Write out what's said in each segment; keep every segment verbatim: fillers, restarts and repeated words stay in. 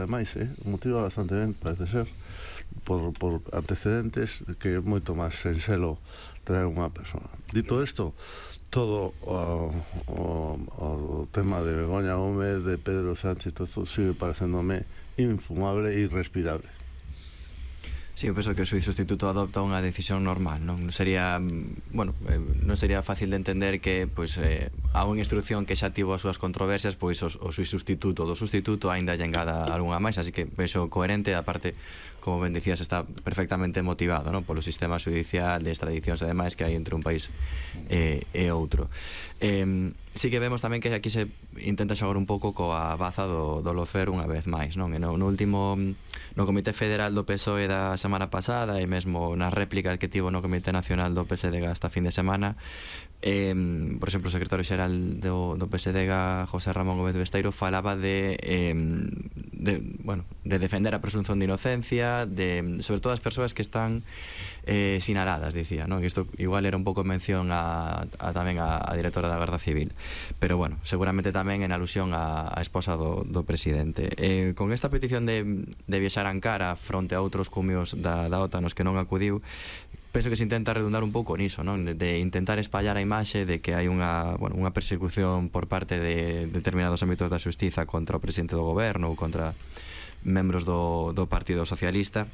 ademais, eh? motiva bastante ben, parece ser, por, por antecedentes que é moito máis senxelo traer unha persona. Dito isto, todo o, o, o tema de Begoña Gómez, de Pedro Sánchez, todo isto sigue parecéndome infumable e irrespirable. Sí, eu penso que o xuíz sustituto adopta unha decisión normal, non sería, bueno, non sería fácil de entender que, pois, eh, a unha instrucción que xa tivo as súas controversias, pois o, o xuíz sustituto do sustituto aínda lle engada algunha máis, así que penso coherente, aparte, como ben dicías, está perfectamente motivado, non, polo sistema judicial de extradicións e demais que hai entre un país e, e outro. Eh, sí que vemos tamén que aquí se intenta xogar un pouco coa baza do, do lofer unha vez máis, non? E no, no último, no Comité Federal do P S O E da semana pasada e mesmo nas réplicas que tivo no Comité Nacional do P S D G esta fin de semana, eh, por exemplo, o secretario xeral do, do P S D G, José Ramón Gómez Besteiro, falaba de, eh, de, bueno, de defender a presunción de inocencia, de, sobre todo as persoas que están eh, sinaladas, dicía, non? Isto igual era un pouco mención a, a tamén a, a directora da Garda Civil, pero bueno, seguramente tamén en alusión a, a esposa do, do presidente. Eh, con esta petición de, de viaxar a Ankara fronte a outros cumios da, da OTAN nos que non acudiu, penso que se intenta redundar un pouco niso, non? De, de intentar espallar a imaxe de que hai unha, bueno, unha persecución por parte de determinados ámbitos da xustiza contra o presidente do goberno ou contra membros do, do Partido Socialista,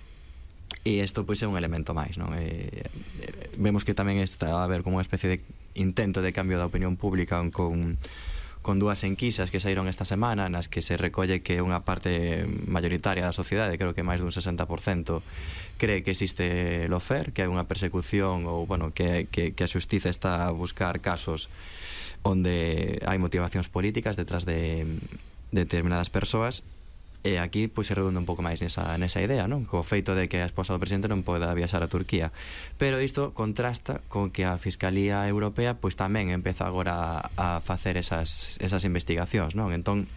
e isto pois é un elemento máis, non? E, vemos que tamén está a haber como unha especie de intento de cambio da opinión pública con, con dúas enquisas que saíron esta semana nas que se recolle que unha parte mayoritaria da sociedade, creo que máis dun sesenta por cento, cree que existe lofer, que hai unha persecución ou, bueno, que, que, que a xustiza está a buscar casos onde hai motivacións políticas detrás de, de determinadas persoas. E aquí pois se redunda un pouco máis nesa, nesa idea, non? Co feito de que a esposa do presidente non poda viaxar a Turquía. Pero isto contrasta con que a Fiscalía Europea pois tamén empeza agora a, a facer esas, esas investigacións, non? Entón,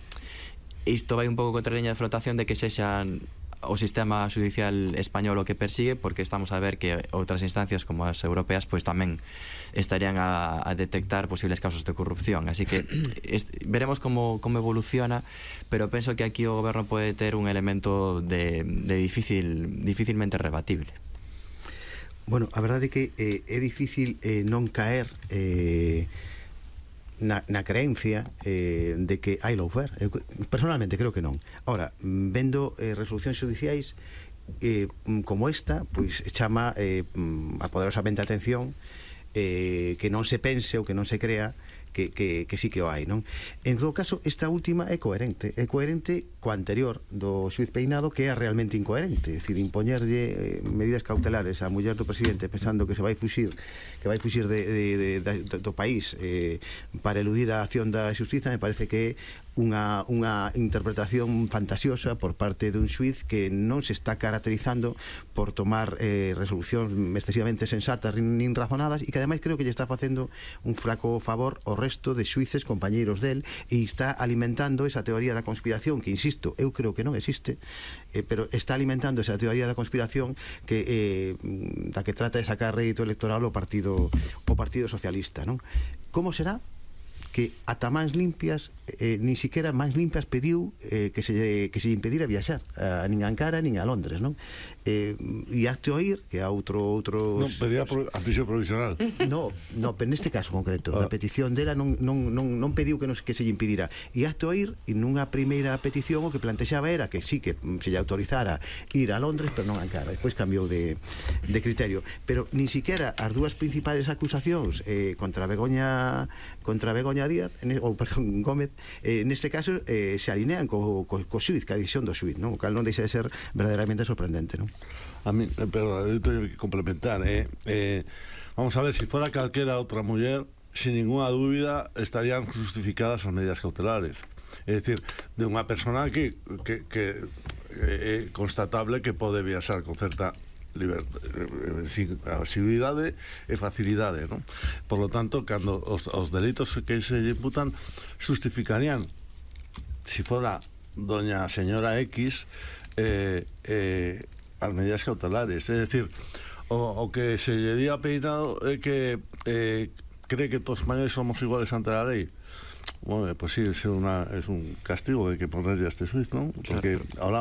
isto vai un pouco contra a liña de flotación de que sexan o sistema judicial español o que persigue, porque estamos a ver que outras instancias como as europeas pois tamén estarían a, a detectar posibles casos de corrupción, así que est, veremos como, como evoluciona, pero penso que aquí o goberno pode ter un elemento de, de difícil, dificilmente rebatible. Bueno, a verdade é que eh, é difícil eh, non caer eh, Na, na creencia eh, de que hai lawfare. Eu, personalmente creo que non. Ahora, vendo eh, resolucións judiciais eh, como esta, pois chama eh, a poderosamente a atención eh, que non se pense ou que non se crea que, que, que sí que o hai, non? En todo caso, esta última é coherente é coherente coa anterior do xuiz Peinado, que é realmente incoherente, é dicir, impoñerlle eh, medidas cautelares á muller do presidente pensando que se vai fuxir que vai fuxir de, de, de, de, do país eh, para eludir a acción da xustiza, me parece que é unha, unha interpretación fantasiosa por parte dun xuiz que non se está caracterizando por tomar eh, resolucións excesivamente sensatas nin razonadas, e que ademais creo que lle está facendo un flaco favor ao resto de xuíces compañeiros del, e está alimentando esa teoría da conspiración que, insisto, eu creo que non existe, eh, pero está alimentando esa teoría da conspiración que eh, da que trata de sacar rédito electoral o partido o Partido Socialista, non? Como será que ata máis limpias eh, nin siquiera máis limpias pediu eh, que se que se impedira viaxar a, nin a Ankara nin a Londres, non? Eh, e acte oír que a outro outros non pedía pro, a prisión provisional. No, no, pero neste caso concreto, ah. a petición dela non, non, non, non pediu que, nos, que se lle impedira. E acte oír, e nunha primeira petición o que plantexaba era que sí, que se lle autorizara ir a Londres, pero non a Ankara. Despois cambiou de, de criterio. Pero nin siquiera as dúas principales acusacións eh, contra Begoña contra Begoña Díaz, en, ou perdón, Gómez, eh, neste caso eh, se alinean co, co, co xuiz, ca decisión do xuiz, non? O cal non deixa de ser verdadeiramente sorprendente, non? A mí, pero eu teño que complementar, eh, eh, vamos a ver, si fuera calquera outra muller, sin ninguna dúbida estarían justificadas as medidas cautelares. É dicir, de unha persona que, que, que é constatable que pode viaxar con certa asiduidade e facilidade, non? Por lo tanto, cando os, os delitos que se lle imputan justificarían, si fora doña señora X, eh, eh, as medidas cautelares. É dicir, o, o que se lle di a Peinado é que eh, cree que todos os españoles somos iguales ante a lei. Bueno, pues sí, es, una, es un castigo que hay que ponerle a este suizo, ¿no? Porque claro. Ahora